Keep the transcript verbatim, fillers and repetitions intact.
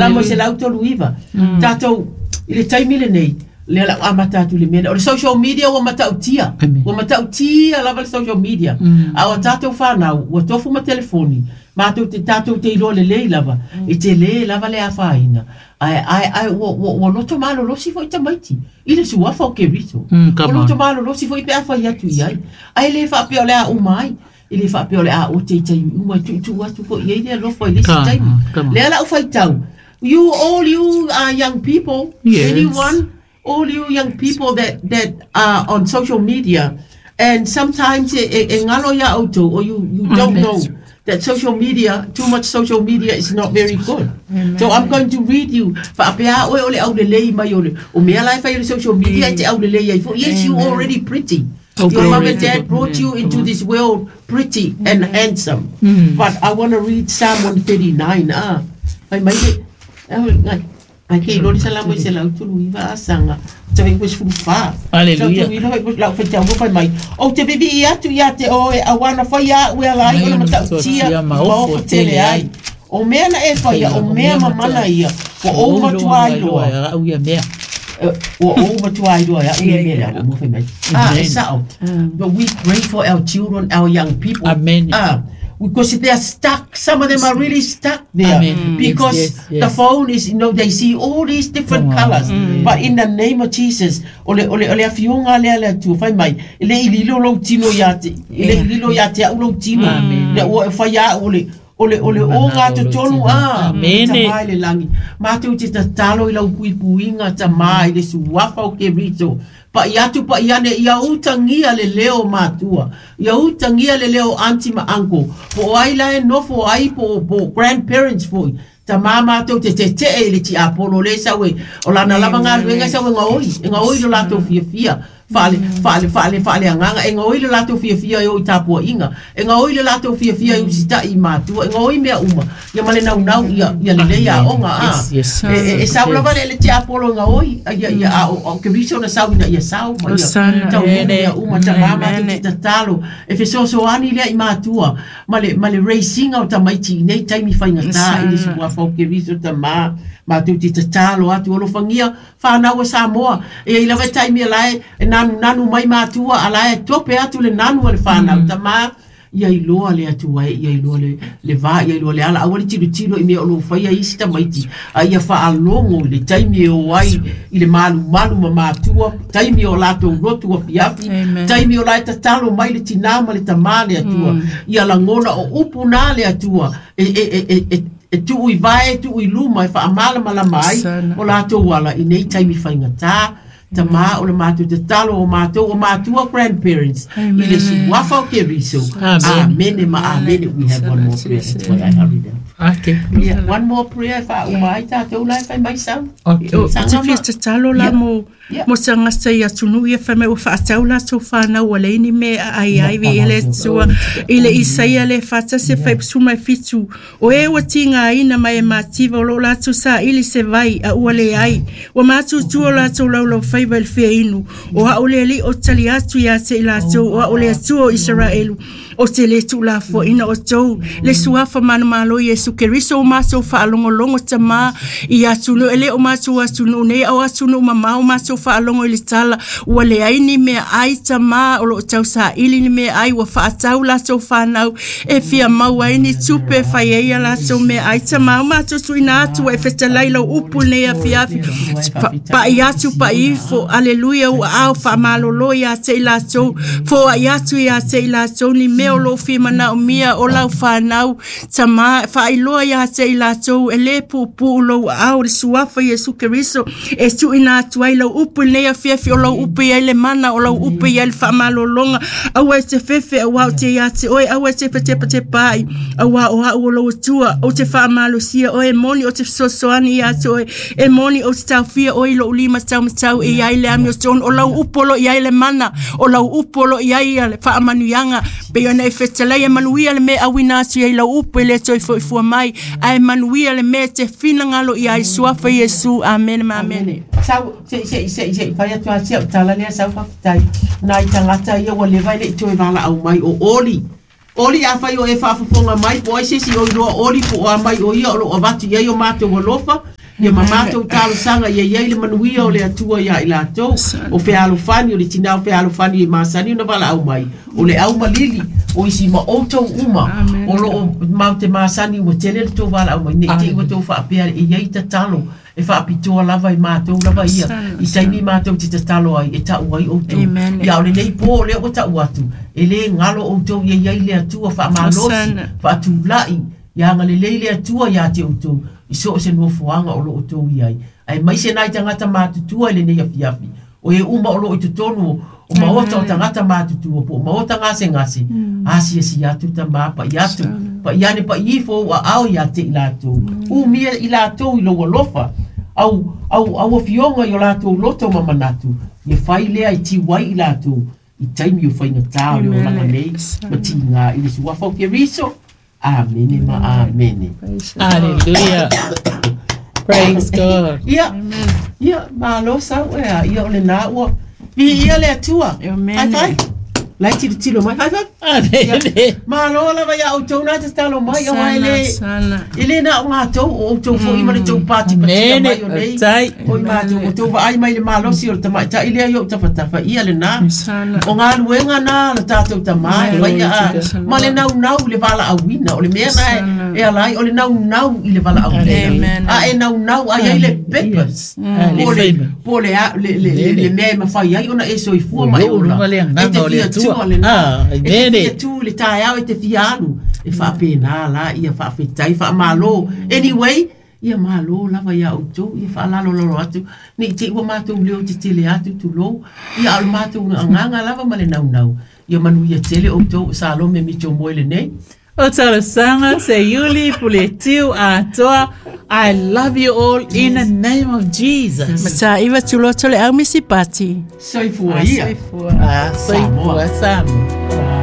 Salamo e selau tolu iva. Tatou i le taimi lenei, lea lau amata atu le mea o le social media ua matautia. Ua matautia lava le social media. A o tatou fanau ua tofu ma telefoni, matou te tatou te iloa lelei lava e tele lava le afaina. Ae ae ae ua ua ua loto malolosi foi tamaiti i le suafa o Keriso. Mm, Ua come loto on. malolosi foi pe afai atu i ai. Ae le faapea o le a uma ai. E le faapea o le a ote i taimi uma e tuutuu atu foi i ai le alofa i le isi Come taimi. on, come on. Lea lau faitau. You all you are young people, Yes. anyone, all you young people that that are on social media, and sometimes e, e, e ngalo ia outou, or you you don't Amen. know that social media, too much social media is not very good. So I'm going to read you. Faapea oe o le aulelei mai o le o mea la e fai o le social media e te aulelei ai fo. Yes, you already pretty. Oh, Your mom glory and to dad God. brought you into this world pretty and handsome. Mm. But I want to read Psalm one thirty-nine. Ah, fai mai le ah, ngai. Ai ke lori salamo i se lau tulu iva asanga. Te vei wis fulu fa. Hallelujah. Tau tulu iva lau whaitau whai mai. O te vivi i atu ia te oe a wana whai a ue ala ai o le matautia ma ofo tele ai. O mea na e whaia, o mea mamana ia. Wa o matua ai loa. Loa au ia mea. Ua ou matua ai loa ia ua mea lea, ua whai mai. Ah, e Amen. sao. But we pray for our children, our young people. Amen. Ah, because they are stuck. Some of them are really stuck there. Amen. Because Yes, yes, yes. the phone is, you know, they see all these different Come on. colors. But in the name of Jesus, ole ole ole afionga lea le Atua fai mai, e le i lilo lou tino ia te, e le i lilo ia te au lou tino. Amen. Le ua e fai au ole ole ole o ngā totonu a Amen. tamai le langi. Mātou te tatalo i lau puipuiga tamai le suafa o Keriso. Pa i atu pa i ane ia utangia le leo matua. Ia utangia le leo auntie ma uncle. Po ai la e nofo ai po po grandparents foi. Ta mama mātou te te te e le ti apolo le sawe. O lana lava ngā luenga sawe ngā oi. E ngā oi lo latou fia fia. Fale, fale, fale, fale anganga. E ngā oi le latou fia fia e o i tāpua inga. E ngā oi le latou fia fia e usita i mātua. E ngā oi mea uma. Ia male nau nau ia, ia le lea onga a. Yes, yes. E, e, e sau lava le le ti apolo ngā oi. Ia, ia, a, o, o Keriso na sau ina ia sau. Ma ia, Osana. tau nuu ia uma ta mama Amen. te tatalo. E fesoasoani lea i mātua. Ma le, ma le racing o tamaiti i nei taimi faigata i le suafa o Keriso ta mā. Mātou te tatalo atu alofagia whanau o Samoa. E i lava e taimi a lae e nanu nanu mai mātua a lae tope atu le nanu a le whanau. Ta mā ia iloa le atua e, ia iloa le, le vā, ia iloa le ala. Aua le tilotilo i mea o lo whaia isi tamaiti. A ia whaalongo i le taimi e o ai i le malu malu ma mātua, taimi o latou rotu a fiafi, Amen. taimi o lae tatalo mai le tinā ma le tamā le atua. Ia langona o upu nā le atua. E, e, e, e, e, e tuu i vae, e tuu i luma, e whaamalamalama ai Sana. o latou ala i nei taimi faigata. Ta mā o le mātou te talo o mātou o mātua grandparents i le suafa o Keriso. Amen. Amen ma amen. We have one more prayer. That's why I hurried up. Okay. Yeah, one more prayer wha uma ai tātou lai whai mai sau. Okay. O te fia tatalo la Yeah. mo Yeah. mo tagata i atunuu ia fai mai ua faatau latou fanau ua leai ni mea e aai ai viia le Atua i le Isaia le fatasi e faipusuma e fitu o e ua tigaina mai e mativa o loo latou saili se vai a ua leai ua matutua o latou laulaufaiva i le fiainu o a'u le alii o tali atu iā te i latou o a'u le Atua o Isaraelu o te lē tuulafoaʻina o tou le suafa manumalo Iesu Keriso o matou faalogologo tamā i atunuu e lē o matou atunuu nei ao atunuu mamao matou faalogo i le tala ua leai ni mea ai tamā o loo tausaili ni mea ai ua faatau latou fanau e fia maua ai ni tupe e fai ai ia latou mea ai tamā o matou tuuina atu ua e fetalai lau upu lenei afiafi paʻi atu paʻi ifo aleluia ua ao faamalōlō iā te i latou foaʻi atu iā te i latou ni mea o loo fia manaomia o lau fanau tamā faailoa iā te i latou e lē puupuu lou aao le suafa Iesu Keriso e tuuina atu ai lau upu i lenei afiafi o lau upu i ai le mana o lau upu i ai le faamalōloga aua e te fefe auā o te iā te oe aua e te fetepatepaai auā o a'u o lou Atua ou te faamalosia oe e moni o te fesoasoani iā te oe e moni ou te taofia oe i lou lima taumatau e iai le amiotonu o lau upu o loo i ai le mana o lau upu o loo i ai le faamanuiaga pei ona e fetalai e manuia le mea auina atu ai lau upu e lē toe foifua mai ae manuia le mea e te finagalo i ai suafa Iesu amene ma amene. Amene. Sau, se, se, se, se, fai atu a sia o tala lea sau whawhitai. Nā i tangata ia ua lewa i le i toe wala au mai o Oli. Oli afai o e faafofoga mai po o ai se isi o iloa Oli po o a mai o ia o loo avatu i ai o matou alofa ia ma matou talosaga ia iai le manuia o le Atua iā i latou o fealofani o le tinā o fealofani e masani ona valaau mai o le aumalili o isi ma outou uma o loo matou te masani ua tele le tou valaau mai nei te i ua tou faapea e iai tatalo e faapitoa lava i matou lava ia i taimi matou te tatalo ai e tau ai outou ia o lenei po o lea ua tau atu e lē galo outou ia iai le Atua faamalosi faatulai ia agalelei le Atua iā te outou i so o se nofoaga o loo outou iai ae maise nai tagata matutua i lenei afiafi o e uma o loo i totonu o maota o tagata matutua po o maota gasegase asiasi atu tamā pa'i atu pa'i ane pa'i ifo ou aao iā te i latou umia i latou i lou alofa au au au afioga i o latou loto ma manatu ia fai lea e tiu ai i latou i taimi o faigatā o le olaga nei ma tigā i le suafa o Keriso. Amene ma amene. Hallelujah. Praise God. Ia, ia, malo sau ea, ia o lenā ua viia le Atua. Amen. High five. Lai tilotilo mai. High five. Amene. Malo lava iā outou na tatalo mai auā e lē Sana. e lē na o matou o outou foʻi ma le tou patipatia Amene. mai o nei Tai. o i matou o tou vaai mai le malosi o le tamaitaʻi lea i ou tafatafa ia lenā Sana. o galuega na le tatou tamā e faia a ma le naunau i le valaauina o le mea na e ala ai o le naunau i le valaauina Amen. a e naunau ai ai le purpose Ah, le po o le faima. po o le a- le le le le mea e mafai ai ona e soifua ma e O ola luga le e agaga te o le fia Atua. tua lenā Ah, e te amene. fia tu i le taeao e te fia alu e faapena la ia faafetai faamālō anyway ia mālō lava iā outou ia faalalolalo atu nei te i ua matou leo tetele atu tulou ia a o le matou agaga lava ma le naunau ia manuia tele outou o Salome Mitchell Moe lenei. O talosaga Seiuli Puletiu Atoa. I love you all in the name of Jesus. Mataiva tuloto le au misi pati. Soifua ia. Soifua. Ah, soifua Samoa.